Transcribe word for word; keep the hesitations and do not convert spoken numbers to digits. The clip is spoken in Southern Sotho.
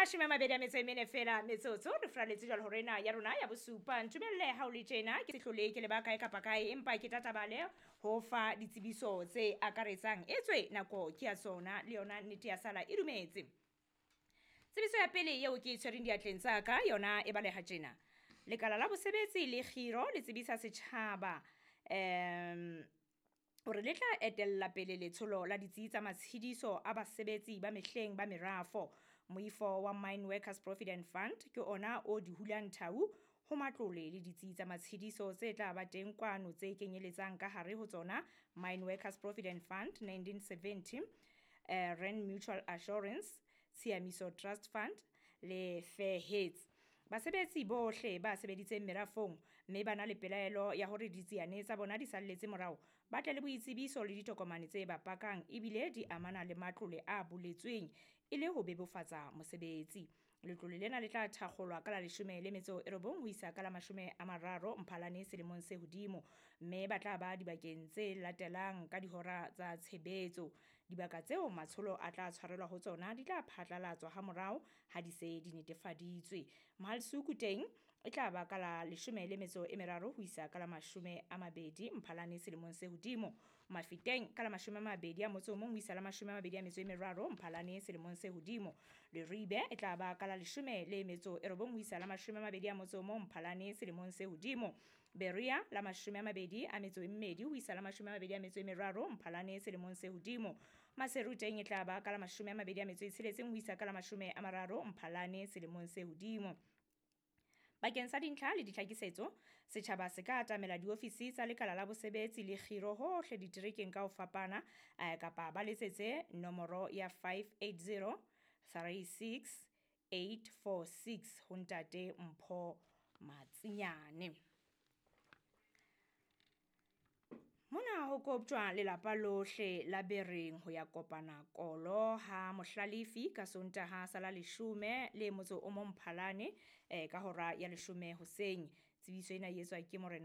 Mashome a mabedi a metso e mene fela metsotso re furaletse jwalo hore ena ya rona ya bosupa. Ntumelle ha o le tjena ke se hlole ke leba kae kapa kae, empa ke tatabale ho fa ditsebiso tse akaretsang, etswe nako ke ya tsona le yona nnete ya sala e dumetse. Tsebiso ya pele eo ke e tshwereng diatleng tsa ka yona e baleha tjena. Lekala la bosebetsi le kgiro le tsebisa setjhaba um hore le tla etella pele letsholo la ditsi tsa matshediso a basebetsi ba mehleng ba merafo. Moifo wa Mine Workers Provident Fund ke ona o di hulang thau ho matlole le ditsi tsa matshediso tse tla ba teng kwano, tse kenyeletsang ka hare ho tsona Mine Workers Provident Fund nineteen seventy, eh, Rand Mutual Assurance, Tshiamiso Trust Fund le Fair Heads. Basebetsi bohle ba sebeditseng merafong mme ba na le pelaelo ya hore ditsiane tsa bona di salletse morao, ba tle le boitsebiso le ditokomane tse ba pakang ebile di amana le matlole a boletsweng e le ho bebofatsa mosebetsi. Letlole lena le tla thakgolwa ka la leshome le metso e robong ho isa ka la mashome a mararo Mphalane selemong se hodimo, mme ba tla ba dibakeng tse latelang ka dihora tsa tshebetso. Dibaka tseo matsholo a tla tshwarelwa ho tsona di tla phatlalatswa ha morao ha di se di netefaditswe. Mohalsuku teng e tla ba ka la leshome le metso e meraro ho isa ka la mashome a mabedi Mphalane selemong se hodimo. Mafeteng ka la mashome a mabedi a motso o mong ho isa la mashome a mabedi a metso e meraro Mphalane selemong se hodimo. Leribe e tla ba ka la leshome le metso e robong ho isa la mashome a mabedi a motso o mong Mphalane selemong se hodimo. Berea la mashome a mabedi a metso e mmedi ho isa la mashome a mabedi a metso e meraro Mphalane selemong se hodimo. Maseru teng e tla ba ka la mashome a mabedi a metso e tsheletseng ho isa ka la mashome a mararo Mphalane selemong se hodimo. Bakeng sa dintlha le ditlhakisetso, setjhaba se ka atamela diofisi tsa lekala la bosebetsi le kgiro hohle diterekeng ka ho fapana, eh, kapa ba letsetse nomoro ya five eight zero three six eight four six ho ntate Mpho Matsinyane. Mona ho koptjwa lelapa lohle la Bereng ho ya kopana kolo ha Mohlalefi ka Sontaha sa la leshome le motso o mong Mphalane, eh, ka hora ya leshome hoseng. Tsebiso ena e etswa ke morena